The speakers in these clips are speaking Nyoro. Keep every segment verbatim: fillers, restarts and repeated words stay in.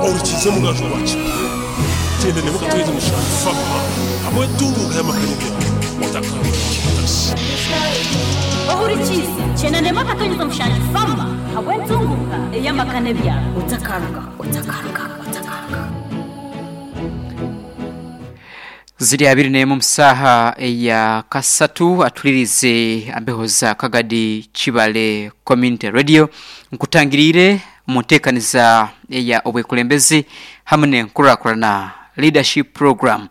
Orukize mugaju wacu kyenda nemu katweze mushanju fama hamwe tunguka y'amakanibya otakaruka. Ohurikize kyenda nemu akatonyeza mushanju fama habw'entunguka ey'amakane byaro otakaruka, otakaruka, otakaruka. Ziri abiri n'emu musaha eya kasatu, atulirize ambeho za Kagadi Kibale Community Radio. Nkutangirire mu nteekaniza eya obwekulembezi hamwe n'enkurakurana, leadership program.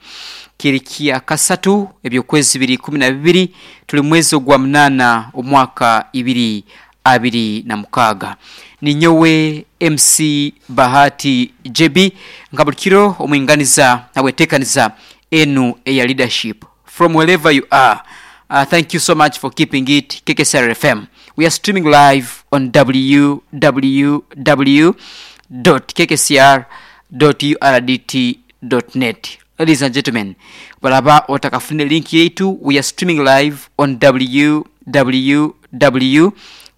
Kiri kya kasatu ebyokwezi bibiri kumi na bibiri, tuli mwezi ogwa munaana omwaka ibiri abiri na mukaaga. Ninyowe M C Bahati J B, nka buli kiro omwinganiza habweteekaniza enu eya leadership. From wherever you are, uh, thank you so much for keeping it K K C R F M. We are streaming live on w w w dot k k c r dot u r d t dot net. Ladies and gentlemen, balaba otakafune link yetu, we are streaming live on w w w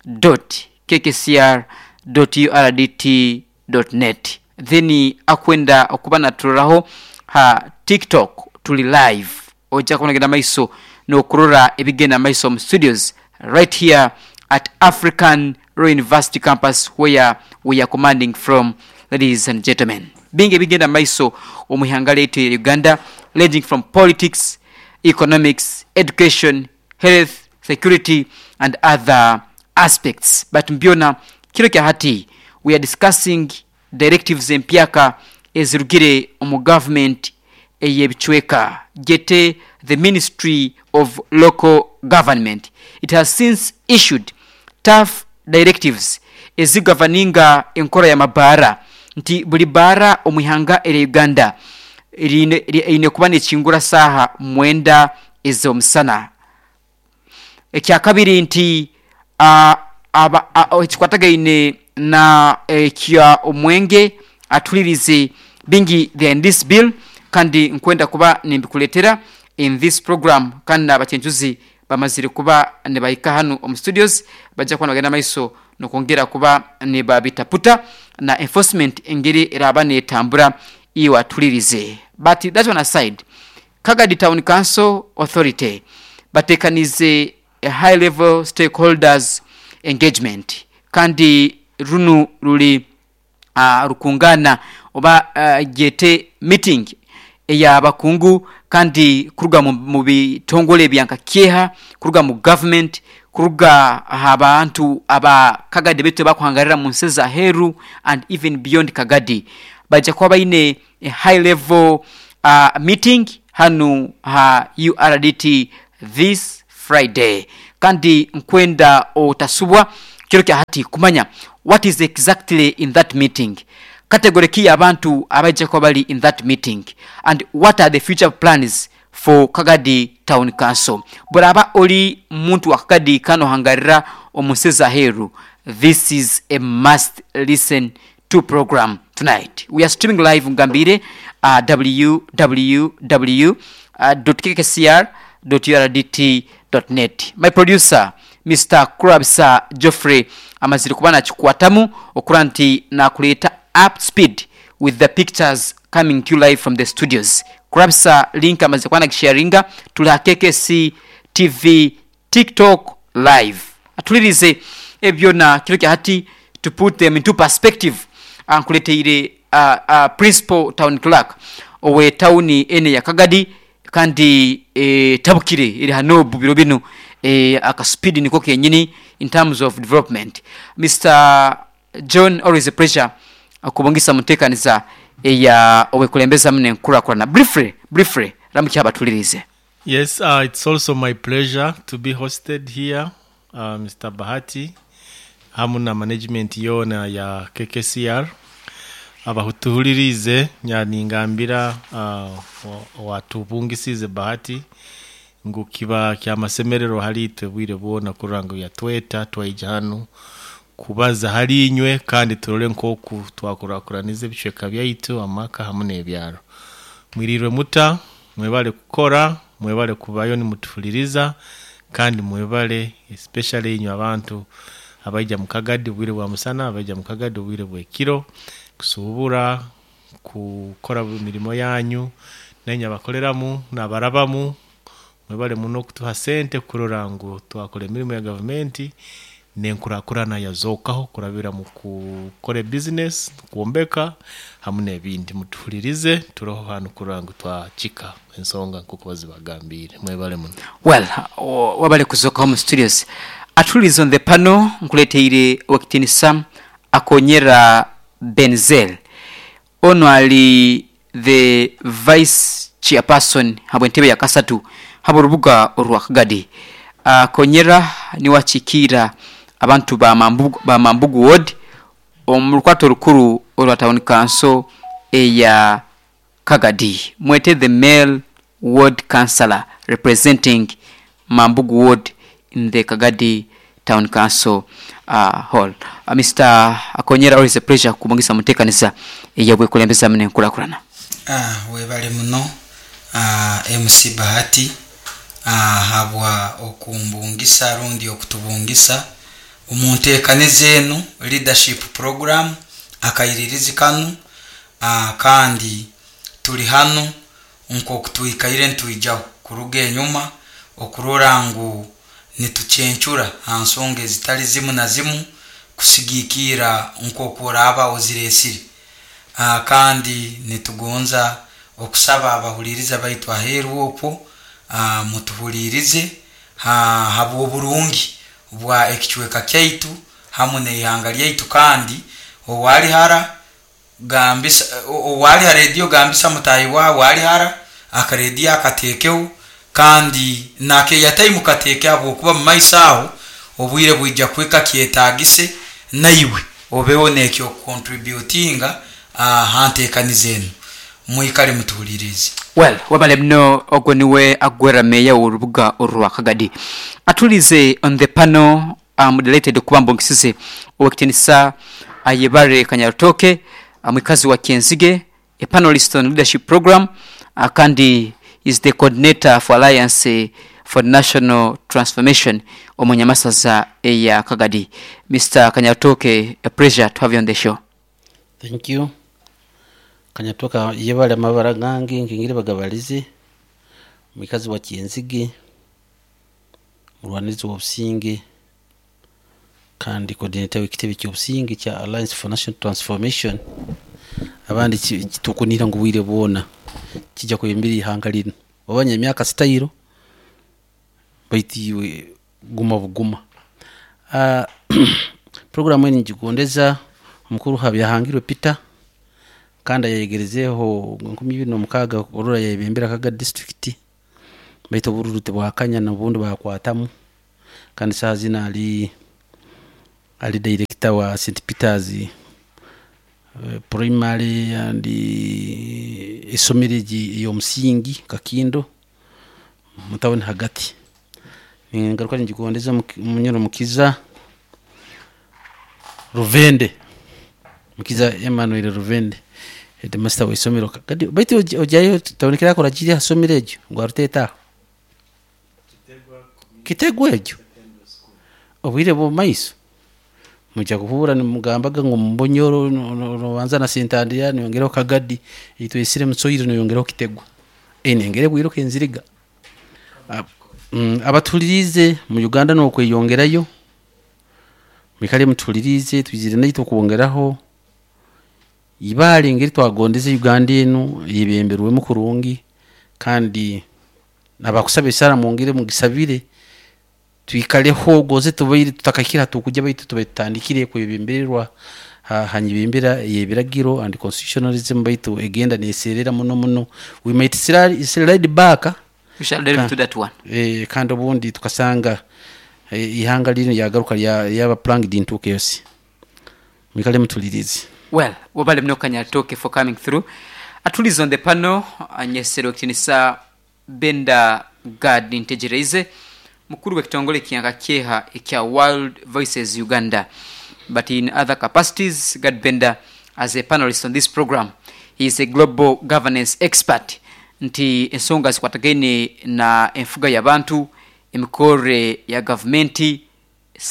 dot k k c r dot u r d t dot net. Then akwenda okuba naturolaho ha TikTok, tuli live, ojja kubona maiso n'okurora ebigenda maiso mu studios right here at African Royal University campus, where we are commanding from. Ladies and gentlemen, bingi ebigenda maiso omu ihanga lyaitu ya Uganda, ranging from politics, economics, education, health, security and other aspects. But mbyona kiro kya hati we are discussing directives empyaka ezirugire omu government ey'ebicweka, gete the Ministry of Local Government. It has since issued tough directives ezigavaninga enkora y'amabaara, nti buli baara omu ihanga erya Uganda riine eine kuba nekingura saaha mwenda ez'omusana. Ekyakabiri nti uh, aba uh, ekikwatagaine na ekya omwenge. Atulirize bingi there in this bill, kandi nkwenda kuba nimbikuletera in this program. Kandi n'abakyencuzi bamazire kuba nibahika hanu omu studios, bajja kuba nibagenda maiso nokwongera kuba nibabitaputa na enforcement engeri eraba netambura. Iwe atulirize, but that one aside, Kagadi Town Council Authority batekanize a high level stakeholders engagement, kandi runu ruli uh, rukungana oba uh, gete meeting ey'abakungu, kandi kuruga mu, mu bitongole byanka kyeha, kuruga mu government, kuruga abantu aba Kagadi betu bakuhangarira mu nsi za heru and even beyond Kagadi. Bajja kuba baine a high level uh, meeting hanu ha U R D T this Friday, kandi nkwenda otasubwa kiro kya hati kumanya what is exactly in that meeting, category ki abantu abajja kuba bali in that meeting, and what are the future plans for Kagadi Town Council. Bw'oraba oli muntu wa Kagadi kano hangarira omu nsi za heru, this is a must listen to program tonight. We are streaming live, ngambire, uh, w w w dot k k c r dot u r d t dot net. My producer, Mister Kurabisa Geoffrey, amazire kuba nakikwatamu okura nti nakuleeta up speed with the pictures coming to you live from the studios. Kurabisa link amazire kuba nagisharinga, tuli ha K K C T V TikTok live. Atulirize ebyona kiro kya hati, to put them into perspective, ankuleteire uh, uh, principal town clerk owe tawuni ene ya Kagadi, kandi e, tabukire eri hanobu biro bino, e, akaspeed niko kenyini in terms of development. Mister John, always a pleasure akubongisa mutekaniza eya owekulembeza mune nkurakurana. Briefly, briefly, ramukya abatulirize. Yes, uh, it's also my pleasure to be hosted here, uh, Mister Bahati, hamu na management yona ya K K C R. Abahutuhulirize, nyaningambira uh, wa- watubungisize Bahati ngu kiba kyamasemerero hali itwe bwire bwona kurora ngu yatweta twaija hanu kubaza hali inywe, kandi turole nkoku twakurakuraniza ebicweka byaitu, amaka hamu n'ebyaro. Mwirirwe muta? Mwebale kukora, mwebale kubayo nimutuhuliriza, kandi mwebale especially inywe abantu abaija mu Kagadi bwire bwa musana, abaija mu Kagadi obwire bwekiro kusubura. Kukora mirimo yanyu nenya bakoleramu nabarabamu mwebale muno kutuha sente kurora ngu twakora emirimo ya gavumenti nenkurakurana yazokaho kurabira mu kukora business kuombeka hamwe n'ebindi. Mutuhulirize, turoho hano kurora ngu twakika ensonga nkuko bazibagambire. Mwebale muno. Well, o- wabale kuzoka mu studios. Atulize on the panel nkuleteire Owekitinisa Akonyera Benzel. Ono ali the vice chairperson habwe entebe ya kasatu habo rubuga orwa Kagadi. Akonyera niwakikira abantu ba Mambugu, ba Mambugu ward omu lukwato rukuru orwa town council eya Kagadi. Mwete the male ward councillor representing Mambugu ward in the Kagadi Town Council uh, hall. Uh, Mister Akonyera, always a pleasure kubongesa mutekanisa eyabwekulembeza mune nkulakulana. Ah, webale muno ah, M C Bahati ah, habwa okumbungisa rundi okutubungisa omunteekaniza enu leadership program akayiririzi kanu ah, kandi tuli hanu nk'okutwikaire ntwijaho kuruga enyuma okurora ngu nitucencura ha nsonga ezitali zimu na zimu kusigikira nk'oku oraba oziresire. Ah, kandi nitugonza okusaba abahuliriza baitu aheeru okwo ah, mutuhulirize ha habw'oburungi bwa ekicweka kyaitu hamu n'eihanga lyaitu. Kandi owali hara gambisa, owali ha rediyo gambisa mutahi wawe ali hara akarediyo akateekeho kandi nakeyataimu kateeke habwokuba mu maiso aho obwire bwija kuhika kyetagise naiwe obeho nekyo contributinga ha nteekaniza enu. Mwikale mutuhulirize. Well, wabale mno. Ogwo niwe agwera meya w'orubuga orwa Kagadi. Atulize on the panel, um, delighted okuba mbongisize Owekitinisa Ayebare Kanyarutoke, mwikazi wa Kyenzige, a panelist on leadership program, uh, kandi is the coordinator for Alliance for National Transformation omunyamasaza eya Kagadi. Mister Kanyarutoke, a pleasure to have you on the show. Thank you. Kanyatoka yebale amabara gange nkingire bagabalize mwikazi wa Kyenzige, mulwanirizi w'obusinge kandi coordinator w'ekitebe ky'obusinge kya Alliance for National Transformation. Abandi kitukunira ngu bwire bwona kijja kuyembera ihanga lino obanya emyaka sitairo baitu iwe guma buguma. uh, programu eni ngigondeza omukuru Habyahangirwe Peter kandi ayegerezeho nkumi ibiri n'omukaaga orora yayebembera Kaga district baitu obururu tibwakanya n'obundi bakwatamu kandi saaha zino ali ali director wa Saint Peters eh, primary and esomero egi ey'omusingi Kakindo mutawuni hagati. Ningaruka ningigondeza Munyoro Mukiza Ruvende, Mukiza Emmanuel Ruvende, headmaster w'isomero kadi baitu ojayo tabonekera akora kiri ha somero egyo ngu aruteeta Kitegwa egyo obwire bw'omumaiso mujja kuhura nimugambaga ngu Mumbonyoro nobanza na Sentandira niyongeraho Kagadi itwesire Musoyiro niyongeraho Kitegwa enengere bwiro kenziriga. mm, abatulirize mu Uganda nokweyongerayo mwikale mutulirize twizire naitwe kwongeraho ibale ngeri twagondeze Uganda enu yebemberwemu kurungi kandi nabakusaba esara mwongere mugisabire twikaleho goze tubaire tutakakira tukujya baitu tubaire tutandikire kwebembererwa hanyibembera yebiragiro and constitutionalism baitu egenda neserera muno muno. We might slide, slide back. We shall delve to that one. Eh, kandi obundi tukasanga eh, ihanga lino yagaruka yaba plunged into chaos. Mwikale mutulirize. Well, wabale mno Kanyatoke for coming through. Atulize on the panel anyesero kitinisa Benda Gad Ntegereze, mukuru w'ekitongole kyanka kyeha ekya World Voices Uganda, but in other capacities Gad Benda as a panelist on this program, he is a global governance expert nti ensonga zikwatagaine na enfuga y'abantu, emikore ya gavumenti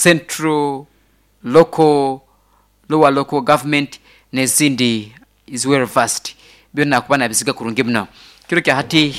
central, local, lower local government n'ezindi. Is well versed, byonna akuba nabisiga kurungi muno. Kiro kya hati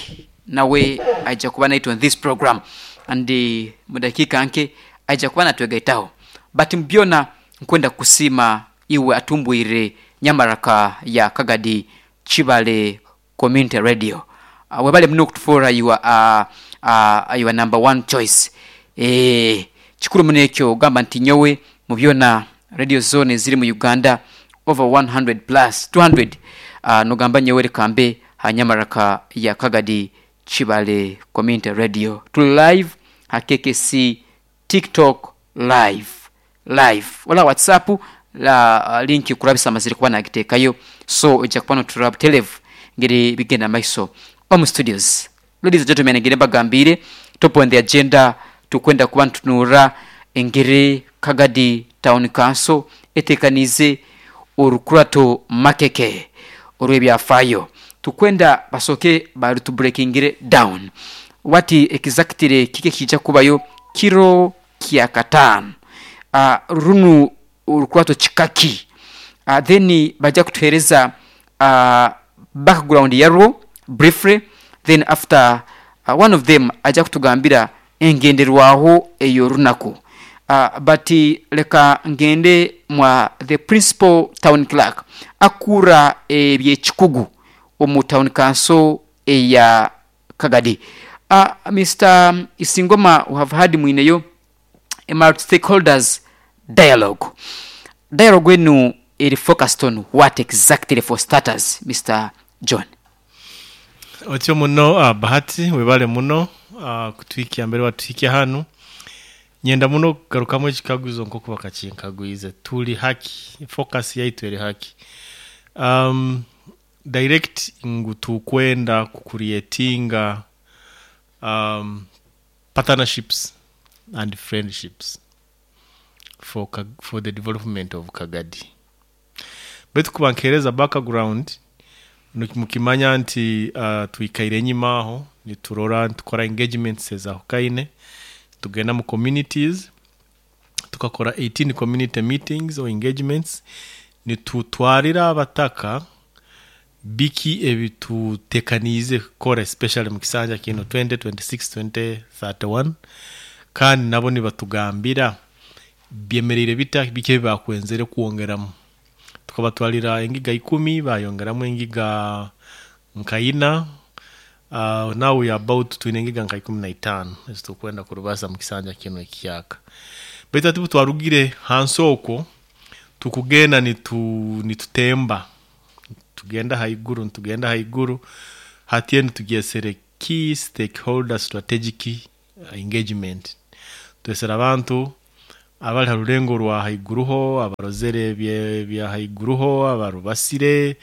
nawe aija kuba naitwe on this program, and eh, mu dakiika nke aija kuba natwegaitaho. But mubyona nkwenda kusiima iwe atumbwire Nyamaraka ya Kagadi Kibale Community Radio. uh, webale muno okutufuura your, uh, uh, your number one choice. Eh, kikuru muno ekyo ogamba nti nyowe mu byona radio zone eziri mu Uganda over one hundred plus two hundred, uh, nogamba nyowe lekambe ha Nyamaraka ya Kagadi Kibale Community Radio. Tuli live ha K K C TikTok live live wala WhatsApp la uh, link kurabisa amazire kuba nagiteekayo, so ojja kuba noturaba telev ngeri bigenda maiso. Omu studios, ladies and gentlemen, ngeri mbagambire, top on the agenda, tukwenda kuba ntutunura engeri Kagadi Town Council etekanize orukurato makeke olw'ebyafaayo. Tukwenda basooke barutubreakingire down what exactly kike kijja kubayo kiro kya kataano. uh, runu orukurato kikaki? uh, then bajja kutuhereza uh, background yarwo briefly. Then after, uh, one of them ajja kutugambira engenderwaho ey'orunaku. uh, but leka ngende mwa the principal town clerk akura ebyekikugu omu town council eya Kagadi. uh, Mister Isingoma, we have had mwineyo a stakeholders dialogue. Dialogue enu eri focused on what exactly, for starters, Mister John? Otyo muno, uh, Bahati, webale muno uh, kutwikia mbere watwikia hanu. Nyenda muno kugarukamu ekikaguzo nkoku bakakinkagwize. Tuli haki, focus yaitu eri haki um, direct ngu tukwenda kucreatinga um, partnerships and friendships for, Kag- for the development of Kagadi. Baitu kuba nkereza background, mukimanya nti uh, twikaire enyima aho niturora nitukora engagements ezahukaine, tugenda mu communities, tukakora eighteen community meetings or engagements, nitutwarira abataka biki ebitutekaniize kukora, especially mu kisanja kino twenty twenty-six twenty thirty-one, kandi nabo nibatugambira byemereire bita, biki ebibakwenzere kwongeramu. Tukabatwalira engiga ikumi, bayongeramu engiga nkaina. uh, now we are about twine engiga nka ikumi na itaano ezitukwenda kurubasa mu kisanja kino ekiyaka. Baitu ati twarugire hansi okwo, tukugenda nitu, nitutemba, tugenda haiguru, nitugenda haiguru. Hatiye nitugyesere key stakeholder strategic engagement. Twesera abantu abali ha rulengo rwa haiguruho, abarozere bye bya haiguruho, abarubasire,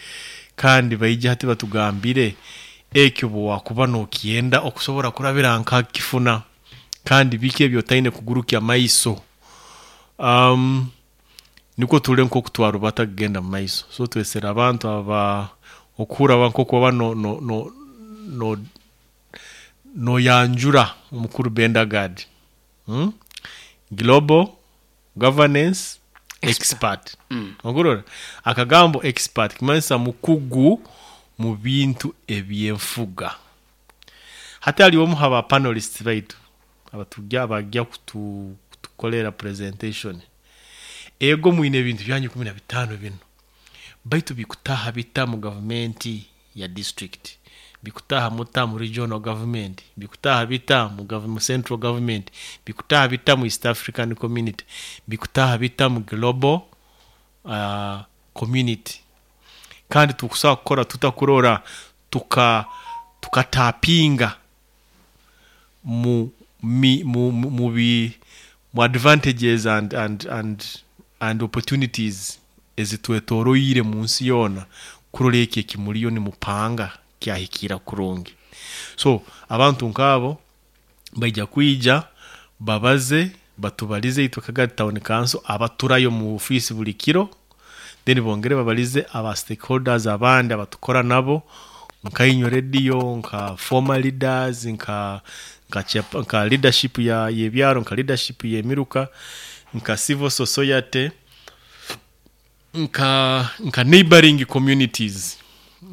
kandi baija hati batugambire ekyo bwakuba nokyenda okusobora kurabira nka kifuna, kandi biki ebyotaine kugurukya maiso. um, niko tule nko kutwarubata kugenda mu maiso. So twesera abantu aba okuhura nkoku baba no, no, no, no, noyanjura omukuru Bendagad, hmm? Global governance expert, mm. Ogurora akagambo expert kimanyisa mukugu mu bintu ebyenfuga. Hati haliwo omu haba panelists baitu abatujja abajja kutu, kutukolera presentation. Ego mwine ebintu byanyu kumi na bitaano bino, baitu bikutaha bita mu gavumenti ya district, bikutaha muta mu regional government, bikutaha bita mu, gov- mu central government, bikutaha bita mu East African Community, bikutaha bita mu global uh, community? Kandi tukusobola kukora tutakurora tuka tukatapinga mu mi, mu, mu, mu, bi, mu advantages and, and, and, and opportunities ezitwetoroire mu nsi yoona, kurora eki ekimuliyo nimupanga kyahikira kurungi. So abantu nk'abo baija kwija babaze, batubalize itwe Kagadi Town Council abaturayo mu ofisi buli kiro, then bongere babalize aba stakeholders abandi abatukora nabo, nka Inyo Radio, nka former leaders, nka nka, chap- nka leadership ya yebyaro, nka leadership yemiruka, nka civil society. Nka nka neighboring communities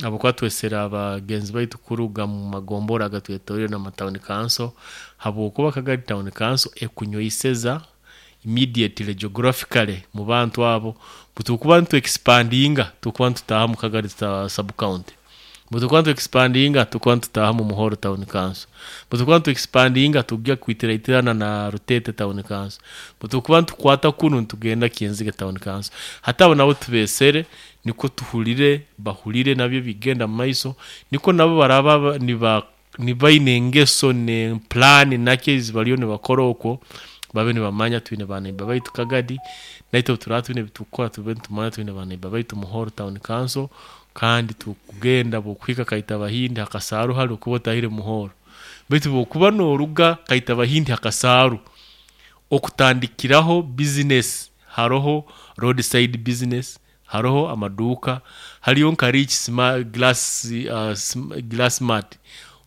abo twesera abagenzi baitu kuruga mu magombora agatwetoreire na town council, habwokuba Kagadi Town Council ekunyoiseza immediately geographically mu bantu abo. Butukuba ntu expandinga, tukuba ntutaha mu Kagadi sub county, butukuba ntu expandinga, tukuba ntutaha mu Muhoro Town Council, butukuba ntu expandinga, tujya kwitiraitirana na Rutete Town Council, butukuba ntukwata kunu ntugenda Kinziga Town Council. Hatabo nabo tubesere niko tuhulire bahulire nabyo bigenda mu maiso, niko nabo baraba niba nibaine engeso ne plan nake baliyo nibakora okwo, babe nibamanya twine baneiba baitu Kagadi, naitwe turaba twine bitukora, tube nitumanya twine baneiba baitu Muhoro Town Council. Kandi tukugenda bokuhika Kaita Bahindi hakasaru hali okuba otahire Muhoro, baitu bokuba noruga Kaita Bahindi hakasaru okutandikiraho business, haroho roadside business, haroho amaduka, hariyo nka rich sma, glass, uh, sm, glass mat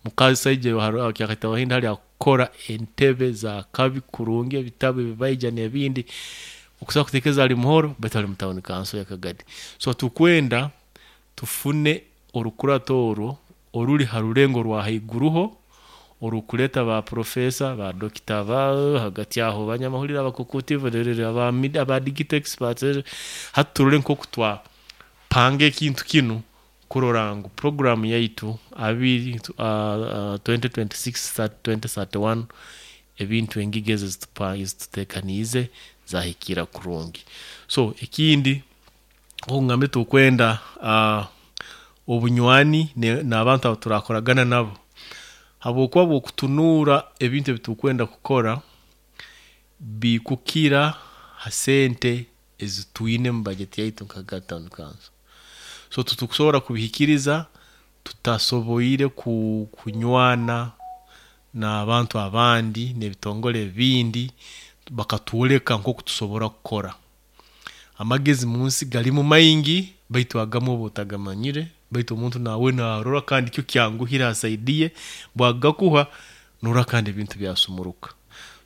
mukasaije Kaita Bahindi hali akora entebe za kabi kurungi, ebitabu ebibaija n'ebindi okusobola kuteekeza ali Muhoro, baitu ali mu town council ya Kagadi. So tukwenda tufune orukurato orwo oruri ha rurengo rwa haiguruho orukuleta ba professor, ba doctor, ba hagati aho banyamahurire, abakukuti aba aba digital experts, haturore nko kutwa pange ekintu kinu kurora ngu program yaitu abiri uh, uh, twenty twenty-six twenty thirty-one ebintu engigeze zitutekanize zahikira kurungi. So ekindi okungambe tukwenda uh, obunywani n'abantu abo turakoragana nabo, habwokuba bwokutunura ebintu ebitukwenda kukora bikukira ha sente ezitwine mu budget yaitu nka Town Council. So tutukusobora kubihikiriza tutasoboire ku, kunywana n'abantu abandi n'ebitongole ebindi bakatwoleka nk'oku tusobora kukora. Amagezi munsi gali mu maingi, baitu agamu oba otagamanyire, baitu omuntu nawe narora kandi kyo kyanguhira asaidiye bwagakuha nora kandi ebintu byasumuruka.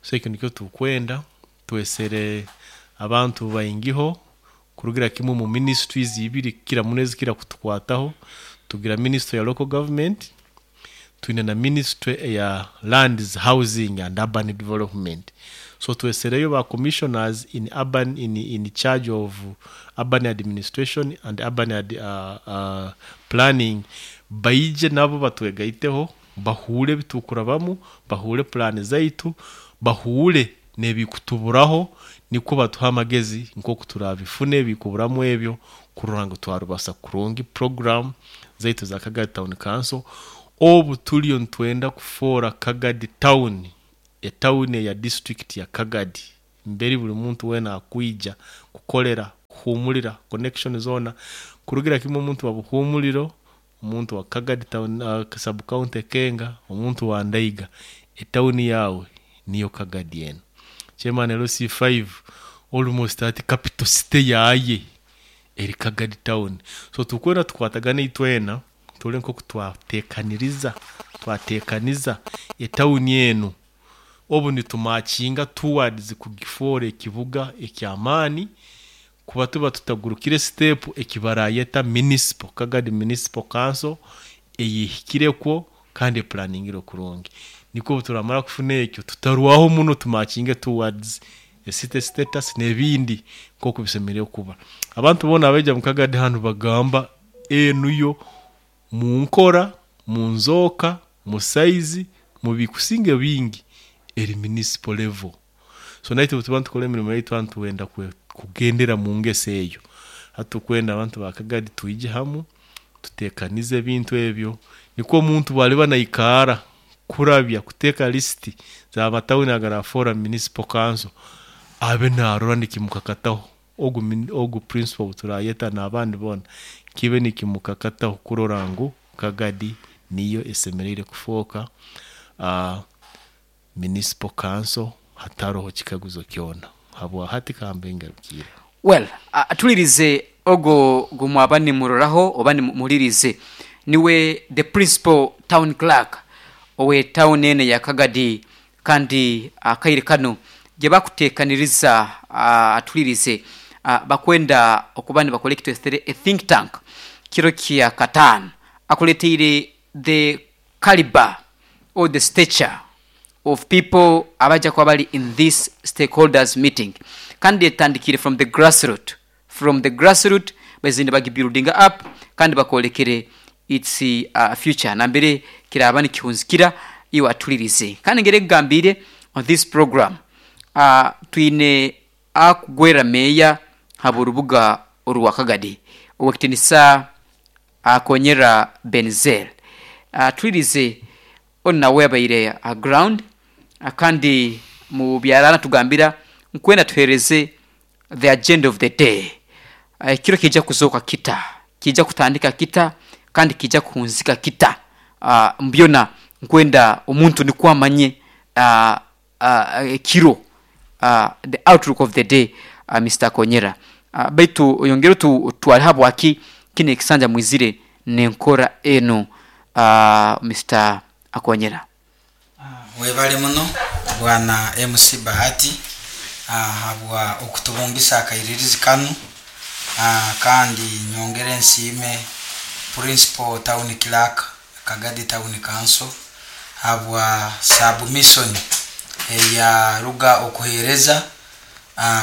So ekyo nikyo tukwenda twesere abantu baingiho kurugira kimwe mu ministries ibiri kira munezi kira kutukwataho. Tugira ministry ya local government, twine na ministry ya lands, housing and urban development. So twesereyo ba commissioners in urban in, in charge of urban administration and urban ad, uh, uh, planning, baije nabo batwegaiteho, bahure bitukurabamu, bahure plan zaitu, bahure nebikutuburaho, niko batuha amagezi nko kuturabifune bikuburamu ebyo kurora ngo twarubasa kurungi program zaitu za Kagadi Town Council. Obu tuliyo ntwenda kufora Kagadi Town etawuni ya district ya Kagadi, mberi buli muntu wena akuija kukolera kuhumulira connection zona kurugira kimwe omuntu wa buhumuliro, omuntu wa Kagadi Town uh, sub county Kenga, omuntu wa Ndaiga, etawuni yawe niyo Kagadi eno. Chairman L C five almost at capital city yaye eri Kagadi Town. So tukwenda tukwatagana itwena tule nko kutwatekaniriza twatekaniza etawuni eno obu nitumakinga towards kugifora ekibuga ekyamani, kuba tuba tutagurukire step ekibarayeta municipal Kagadi Municipal Council eyihikireko kandi planningiro kurungi. Niko turamara kufuna ekyo tutarwaho muno tumakinge towards a city status nebindi nko kubisemereye kuba. Abantu bona abeja mu Kagadi hanu bagamba enuyo mu nkora, mu nzoka, mu size, mu bikusinge bingi eri municipal level. So naitwe tuba tukora emirimo yaitu abantu wenda kugendera mu ngese eyo. Hatukwenda abantu ba Kagadi tuije hamu tutekanize ebintu ebyo, niko omuntu bwaliba naikara kurabya kuteka listi za matawuni agarafora municipal council abe narora nikimukakataho ogu ogu principal turayeta n'abandi bona kibe nikimukakataho kurora ngu Kagadi niyo esemerere kufoka uh, municipal council hataroho kikaguzo kyona habwa hati kambengarukira. Well, atulirize ogo gumwaba ni muroraho oba ni mulirize niwe the principal town clerk owe town ene ya Kagadi, kandi akaire kano gye bakutekaniriza atulirize uh, bakwenda okuba nibakora ekitwesere a think tank kiro kya kataano akuleteire the caliber or the stature of people abajja kuba bali in this stakeholders meeting, kandi etandikire from the grassroot from the grassroot bazinde bagibuilding up kandi bakolekere its uh, future nambere kiraba nikihunzikira iwe atulirize. Kandi ngere kugambire on this program uh, twine akugwera meya haba urubuga orwakagadi owekitinisa akonyera Benzel uh, tulirize nawe abaire uh, ground uh, kandi mu byarana tugambira nkwenda tuhereze the agenda of the day. uh, kiro kijja kuzoka kita kijja kutandika kita kandi kijja kuhunzika kita uh, mbyona nkwenda omuntu nikwamanye uh, uh, kiro uh, the outlook of the day uh, Mister Konyera uh, baitu oyongere tu twali habwaki kine ekisanja mwizire nenkora eno uh, Mister Akonyera. Webale muno bwana M C Bahati habwa okutubungisa akairirizi kanu, kandi nyongere nsiime Principal Town Clerk Kagadi Town Council habwa submission eya ruga okuhereza,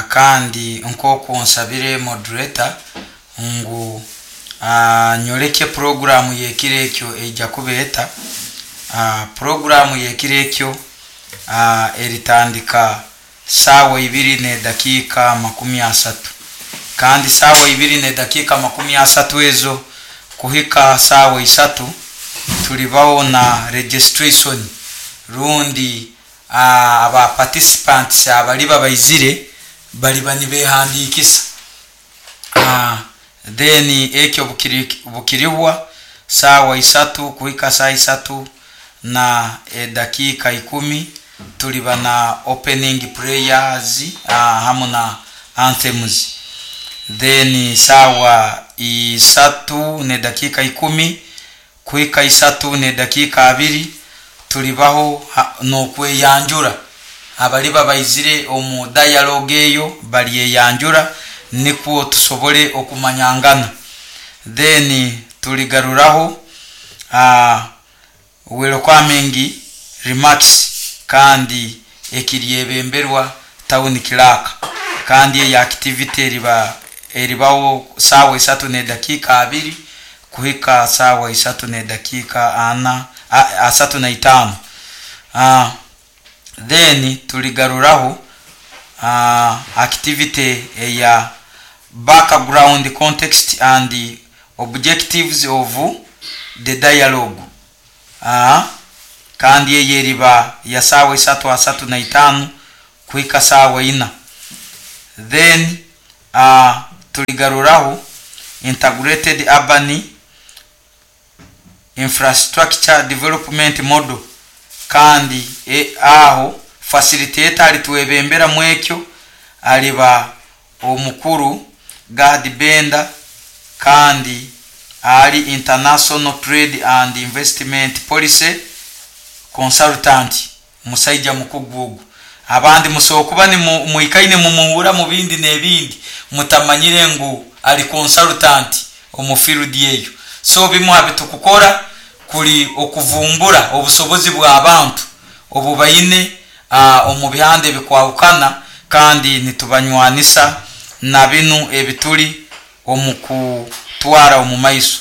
kandi nk'oku nsabire moderator ngu nyoleke programu yekiro ekyo ejja kubeeta. Uh, programu yekiro ekyo uh, eritandika saawa ibiri ne dakiika makumi asatu, kandi saawa ibiri ne dakiika makumi asatu ezo kuhika saawa isatu tulibawo na registration rundi uh, aba participants abaliba baizire baliba nibehandikisa. uh, then ekyo bukiri, bukiribwa saawa isatu kuhika saa isatu na e, dakika ikumi tuliba na opening prayers uh, hamu na anthems. Then sawa isatu ne dakika ikumi kuhika isatu ne dakika abiri tulibaho n'okweyanjura abaliba baizire omu dialogue eyo balyeyanjura nikwo tusobole okumanyangana. Then tuligaruraho uh, welcoming remarks kandi ekiryebemberwa town clerk, kandi eya activity eriba eribawo sawa isatu ne dakika abiri kuhika sawa isatu ne dakika ana a, asatu na itano. Uh, then tuligaruraho uh, activity eya background context and the objectives of the dialogue. Uh, kandi eyeriba ya sawa isatu asatu na itano kuhika sawa ina. Then uh, tuligaruraho integrated urban infrastructure development model, kandi e, aho facilitator alitwebembera mwekyo aliba omukuru Gad Benda, kandi ali international trade and investment policy consultant musaija mukugugu. Abandi musokuba ni muikaine mumuhura mu bindi n'ebindi mutamanyire ngu ali consultant omu field eyo. So bimu abitukukora kuli okuvumbura obusobozi bw'abantu obubaine uh, omu bihande bikwawukana, kandi nitubanywanisa na binu ebituli omu kutwara omu maiso.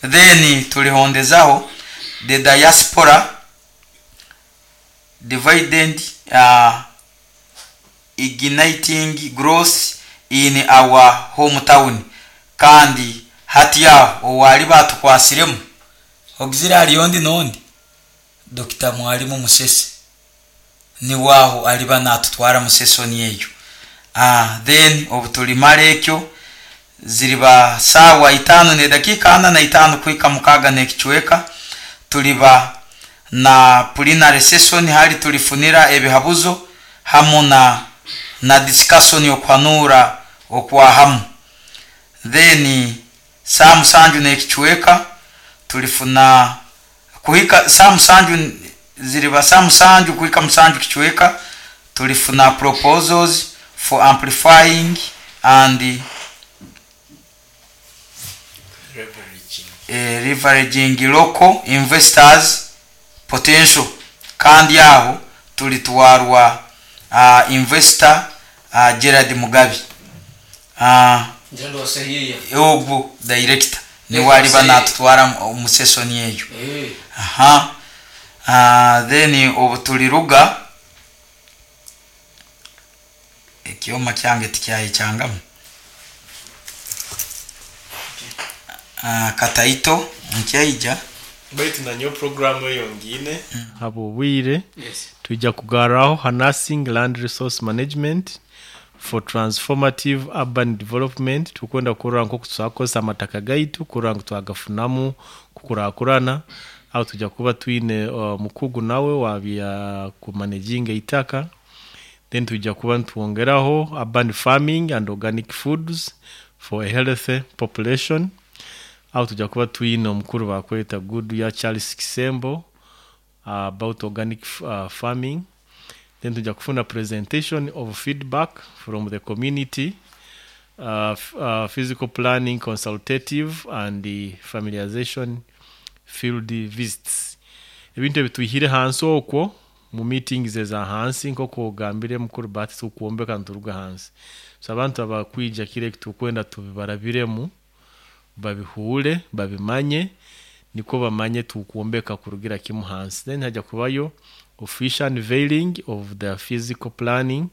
Then tulihondezaho the diaspora dividend uh, igniting growth in our hometown, kandi hati yaho owali batukwasiremu ogizira aliyondi nondi Doctor Mwalimu Musese ni waho aliba natutwara musesoni eyo. Ah, then obutulimala ekyo ziriba sawa itano ne dakika ana na itano kuhika mukaga n'ekichweka tuliba na plenary session hali tulifunira ebihabuzo hamu na na discussion yokwanura okwa hamu. Then saa musanju n'ekichweka tulifuna kuhika saa musanju ziriba saa musanju kuhika musanju kichweka tulifuna proposals for amplifying and eh, leveraging local investors potential. Kandi aho tulitwarwa uh, investor uh, Gerard Mugabi uh, ogwo director niwe aliba natutwara mu session eyo. Aha. Uh, then obu tuliruga ekyoma kyange tikyayekyangamu. Uh, kataito nkyaija baitu nanyo programu eyo ngine habo bwire tujja kugarraho harnessing land resource management for transformative urban development. Tukwenda kurora nko tusakosa amataka gaitu kurora ngu twagafunamu kukurakurana aho tujja kuba twine uh, mukugu nawe wabya kumanaginga itaka. Then tujja kuba ntuongeraho urban farming and organic foods for a healthy population. Aho tujja kuba twine omukuru bakweta good ya Charles Kisembo uh, about organic uh, farming. Then tujja kufuna presentation of feedback from the community, uh, f- uh, physical planning consultative and the familiarization field visits. Ebintu ebituhire hansi okwo mu meetings eza hansi nk'oku ogambire mukuru Bahati tukwombeka nturuga hansi. So abantu abakwija kire tukwenda tubibarabiremu babihure babimanye niko bamanye tukwombeka kurugira kimu hansi. Then hajya kubayo official unveiling of the physical planning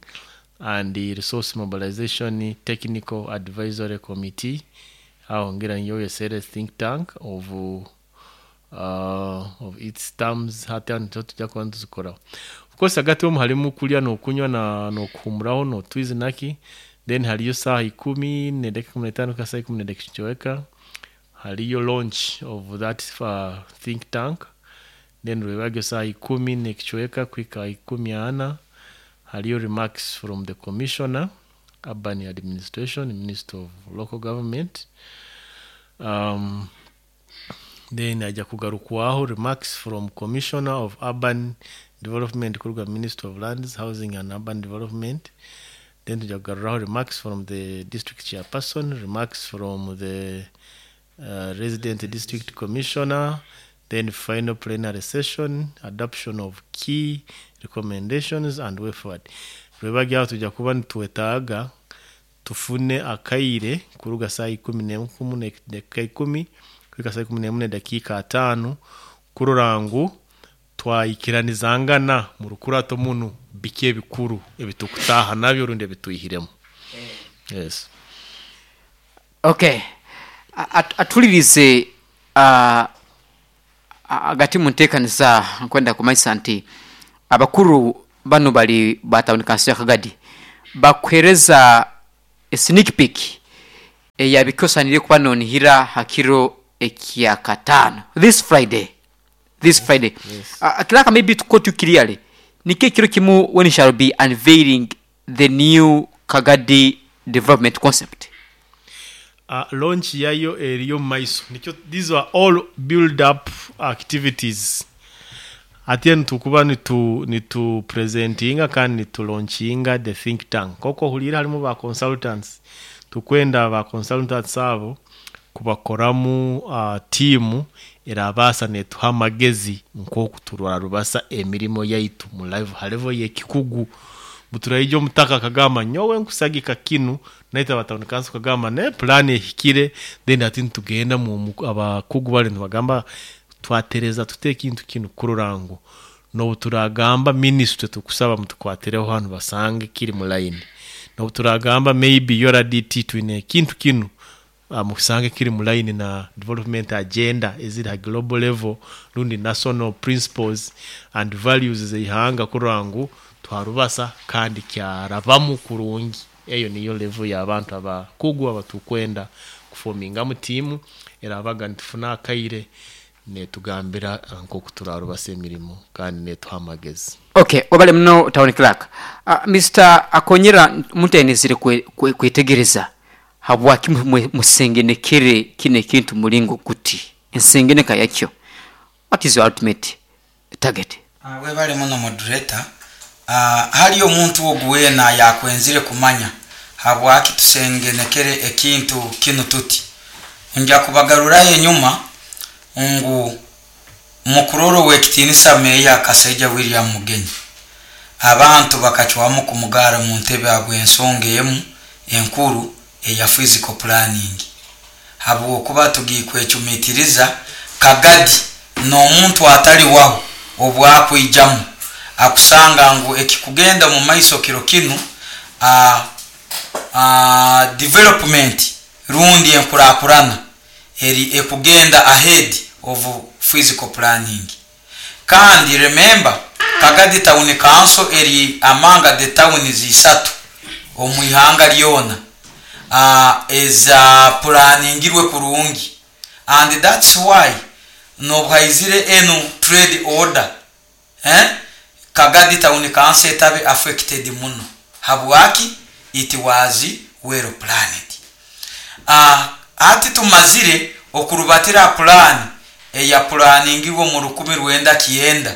and the resource mobilization technical advisory committee aho ngira niyo yesere think tank of uh, of its terms hati hano tujya kuba tuzikoraho. Of course hagati ho harimo kulya no kunywa na no kuhumuraho no twizinaki. Then hariyo saha ikumi nedakika kumi n'etaano ka saha ikumi nedakika kichoweka hariyo launch of that uh, think tank. Then rwebagyo saha ikumi nekichoweka kwika ikumi ana hariyo remarks from the commissioner urban administration minister of local government. um, then ajya kugarukwaho remarks from commissioner of urban development kuruga minister of lands housing and urban development. Then tujya kugaruraho remarks from the district chairperson, remarks from the uh, resident district commissioner. Then final plenary session, adoption of key recommendations and way forward. Rwebagyaho tujya kuba nitwetaaga tufune akaire kuruga saa ikumi n'emu nedakika ikumi kwika saa ikumi n'emu nedakika ataano kurora ngu twayikiranizangana mu rukurato munu biki ebikuru ebitukutaha nabyo rundi ebitwihiremu. Yes. Okay. At- atulirize uh, agati munteekaniza nkwenda kumanyisa nti abakuru bano bali ba town council ya Kagadi bakuhereza sneak peek eyabikosanire kuba nonihira hakiro ekya katano this Friday this Friday. Yes. Uh, kiraka maybe to quote you clearly nike kiro kimu when shall be unveiling the new Kagadi development concept. Uh, launch yayo eriyo maiso nikyo these are all build up activities ate nitukuba nitu nitu presentinga kandi nitu launchinga the think tank koko hulira harimu ba consultants tukwenda ba consultants abo kubakoramu uh, timu erabasa netuha amagezi nkoku turwara rubasa emirimo yaitu mu live halevo yekikugu buturaija omutaka akagamba nyowe nkusagika kinu naita batawuni kanso kagamba ne plan ehikire. Then ati nitugenda mu abakugu bali nibagamba twatereza tute ekintu kinu kurora ngu nobu turagamba ministry tukusaba mutukwatireho hanu basange kiri mu line, nobu turagamba maybe U R D T twine ekintu kinu uh, musange kiri mu line na development agenda eziri ha global level rundi national principles and values zeihanga kurora ngu twarubasa kandi kyarabamu kurungi. Eyo niyo level y'abantu abakugu abatukwenda kufomingamu timu erabaga nitufuna akaire netugambira nkoku turarubasa emirimo kandi netuha amagezi. Okay, wabale muno town clerk. Uh, Mister Akonyera mutenezire kwetegereza habwaki musengenekere kine ekintu mulingo kuti ensengeneka yakyo. What is your ultimate target? Uh, webale muno moderator. Uh, hali omuntu oguwena yakwenzire kumanya Habwaki tusengenekere ekintu kinu tuti? Nja kubagarurayo enyuma ngu mukuroro w'ekitinisa meeya Kasaija William Mugenyi, abantu bakacwamu kumugara mu ntebe habw'ensonga emu enkuru eya physical planning, habwokuba tugikwecumitiriza Kagadi n'omuntu atali waho obwakwijamu akusanga ngu ekikugenda mu maiso kiro kinu, uh, uh, development rundi enkurakurana eri ekugenda ahead of physical planning. Kandi remember, Kagadi Town Council eri among the towns isatu omu ihanga lyona uh, eza planingirwe kurungi, and that's why nobuhaizire enu trade order, eh? Kagadi Town Council etabe affected muno. Habwaki? It was well planned. uh, ati tumazire okurubatira plan eya planingirwe mu rukumi rwenda kienda,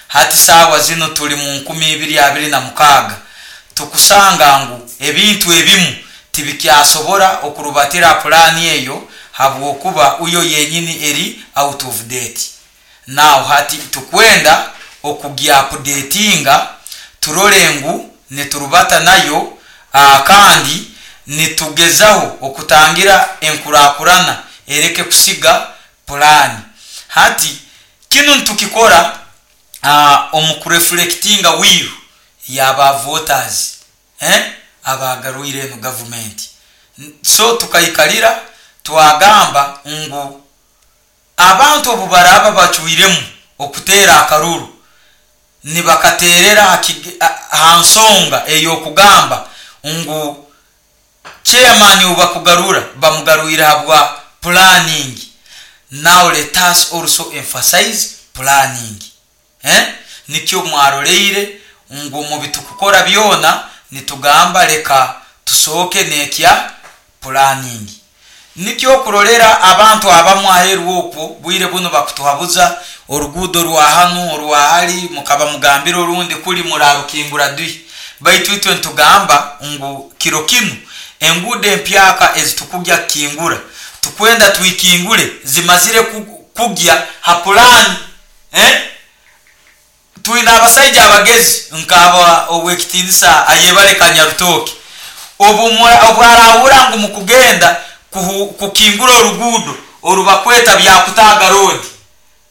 hati sawa zino tuli mu nkumi ibiri abiri na mukaga, tukusanga ngu ebintu ebimu tibikyasobora okurubatira plan eyo habwokuba uyo yenyini eri out of date. Now hati tukwenda okugya updatinga, turole ngu niturubata nayo, uh, kandi nitugezaho okutangira enkurakurana ereke kusiga plan. Hati kinu ntukikora uh, omukureflectinga will yaba voters, eh? Abagaruire eno government. So tukaikalira twagamba ngu abantu obu baraba bacwiremu okuteera akaruru, nibakaterera ha nsonga ey'okugamba ngu chairman ubakugarura bamugarwire habwa planning. Now let us also emphasize planning, eh? Nikyo mwaroleire ngu mu bitukukora byona nitugamba leka tusooke nekya planning. Nikyo kurolera abantu abamu aheru okwo bwire buno bakutuhabuza orugudo rwa hanu orwa hali, mukaba mugambira orundi kuli murarukingura dui, baitu itwe ntugamba ngu kiro kinu engudo empyaka ezitukugya kingura tukwenda tuikingule zimazire kugya ha plan, eh? Twina abasaija abagezi nkaba owekitinisa ayebale Kanyarutoki, obwarahura ngu mukugenda kukingura orugudo orubakweta byakutaga road,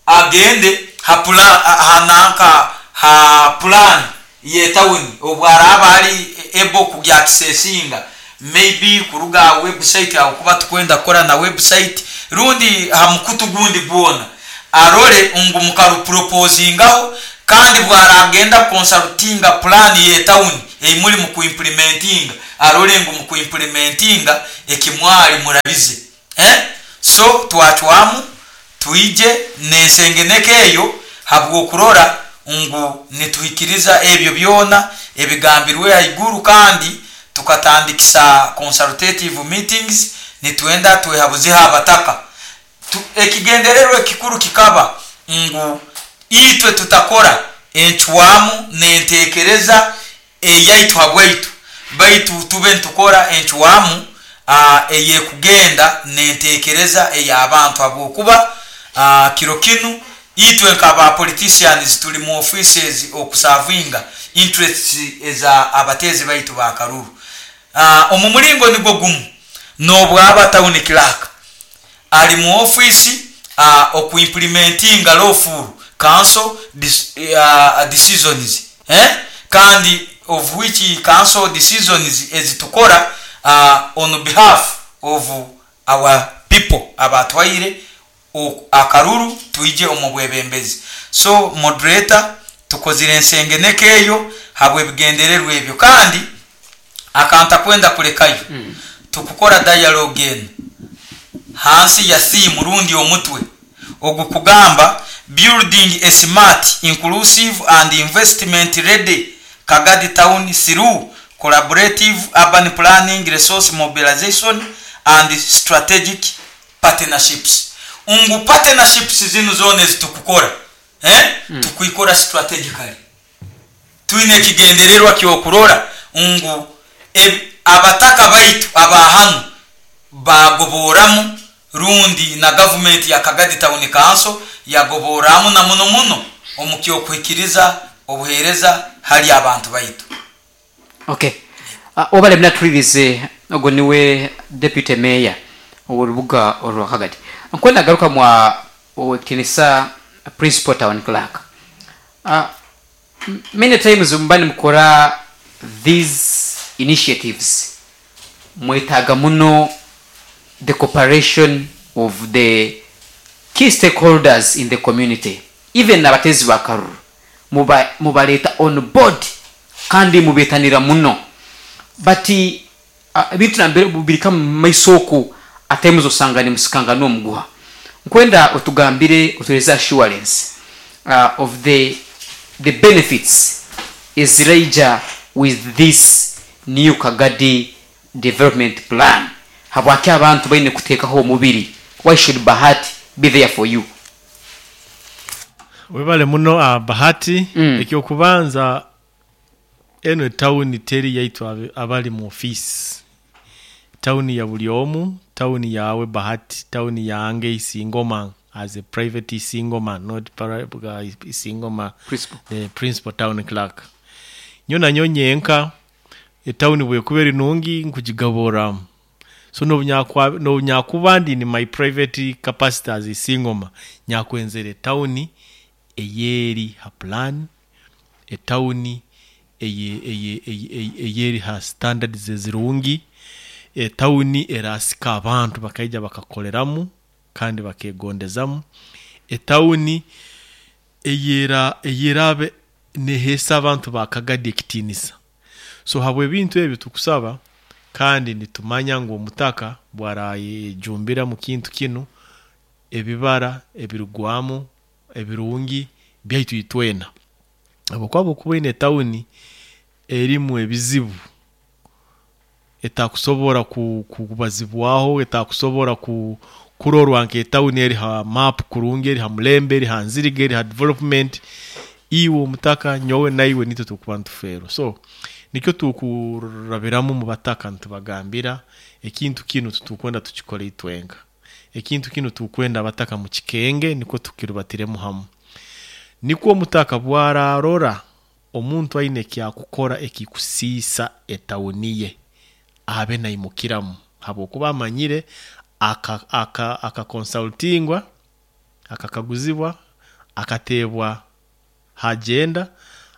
agende ha plan hananka ha plan ye town, obwaraba ali ebo kugya kisesinga maybe kuruga website aho kuba tukwenda kukora na website rundi ha mukutu gundi gwona arole ngu mukaru proposingaho, kandi bwaragenda consultinga plan ye town eimuli mu kuimplementinga, arole ngu mu kuimplementinga ekimwali murabize, eh? So twachwamu tuije nensengeneke eyo habwokurora ngu nituhikiriza ebyo byona ebigambirwe haiguru, kandi tukatandikisa consultative meetings nitwenda twehabuziha abataka. Ekigendererwa ekikuru kikaba ngu itwe tutakora enchwamu nentekereza eyaitu habwaitu, baitu tube ntukora enchwamu eyekugenda nentekereza ey'abantu, habwokuba kiro kinu itwe nk'aba politicians tuli mu offices okusavinga interests eza abatezi baitu bakaruru. Omu mulingo nigwo gumu n'obwaba town clerk ali mu office okuimplementinga lawful council uh, decisions, eh? Kandi of which council decisions ezitukora uh, on behalf of our people abatwaire akaruru tuije omubwebembezi. So moderator, tukozire ensengeneke eyo habwe bigendererwa ebyo, kandi akanta kwenda kulekayo mm. Tukukora dialogue eno hansi ya theme rundi omutwe ogukugamba building a smart, inclusive and investment ready Kagadi town through collaborative urban planning, resource mobilization and strategic partnerships. Ungu partnerships zinu zone zitukukora, eh? Mm. Tukuikora strategically, twine kigendererwa kyokurora ngu e, Abataka baitu abahanu bagoboramu rundi na gavumenti ya Kagadi Town Council yagoboramu na muno muno omukyokuhikiriza obuheereza hali abantu baitu. Okay, uh, obale mnatulirize, ogwo niwe deputy mayor ow'orubuga orwa Kagadi. Nkwenda garuka mwa owekitinisa principal town clerk. uh, many times muba nimukora these initiatives, mwetaaga muno the cooperation of the key stakeholders in the community, even abatezi bakaruru muba mubaleta on board kandi mubetanira muno. But uh, ebintu nambere bubirika mu maiso oku ate osanga nimusikanga n'omuguha. Nkwenda otugambire, otuhereze assurance uh, of the the benefits eziraija with this new Kagadi development plan. Habwaki abantu baine kuteekaho omubiri? Why should Bahati be there for you? Webale muno, uh, Bahati. Mm. Ekyokubanza, eno etawuni teri yaitu abe- abali mu ofisi. Tawuni ya buli omu, tawuni yawe Bahati, tawuni yange Isingoma as a private Isingoma, not para, uh, Isingoma Principal. The principal town clerk nyo nanyo nyenka. Etawuni bwekuba eri nungi nkugigaboramu. So nobunyakwa- nobunyakuba ndi in my private capacity as Isingoma, nyakwenzera etawuni eyeri ha plan, etawuni eye- eye- eye- eye- eyeri ha standards ezirungi, etawuni erasika abantu bakaija bakakoleramu kandi bakegondezamu, etawuni eyera eyerabe nehesa abantu bakagadi ekitinisa. So habwe ebintu ebyo tukusaba, kandi nitumanya ngu omutaka bwarayejumbira mu kintu kinu, ebibara ebirugwamu ebirungi byaitu itwena. Habwokuba okuba ine etawuni erimu ebizibu etakusobora ku- kubazibwaho, etakusobora ku kurorwa nk'etawuni eri ha map kurungi, eri ha mulembe, eri ha nziriga, eri ha development, iwe omutaka, nyowe naiwe nitwe tukuba ntufeerwa. So nikyo tukurabiramu mu bataka ntubagambira ekintu kinu tutukwenda tukikole itwenka. Ekintu kinu tukwenda abataka mu kikenge, nikwo tukirubatiremu hamu, nikwo omutaka bwararora omuntu aine ekyakukora ekikusiisa etawuni ye, abe naimukiramu, habwokuba amanyire akakonsultingwa aka, aka akakaguzibwa, akateebwa hagenda,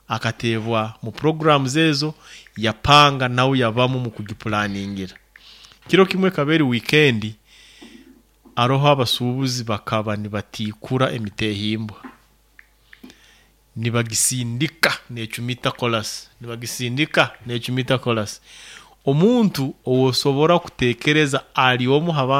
akateebwa mu programs ezo yapanga, nawe yabamu mu kugipulaningira. Kiro kimwe kaberi weekend, aroho abasuubuzi bakaba nibatikura emitehimbwa, nibagisindika necumita kolas, nibagisindika necumita kolas. Omuntu owosobora kutekereza ali omu habantu.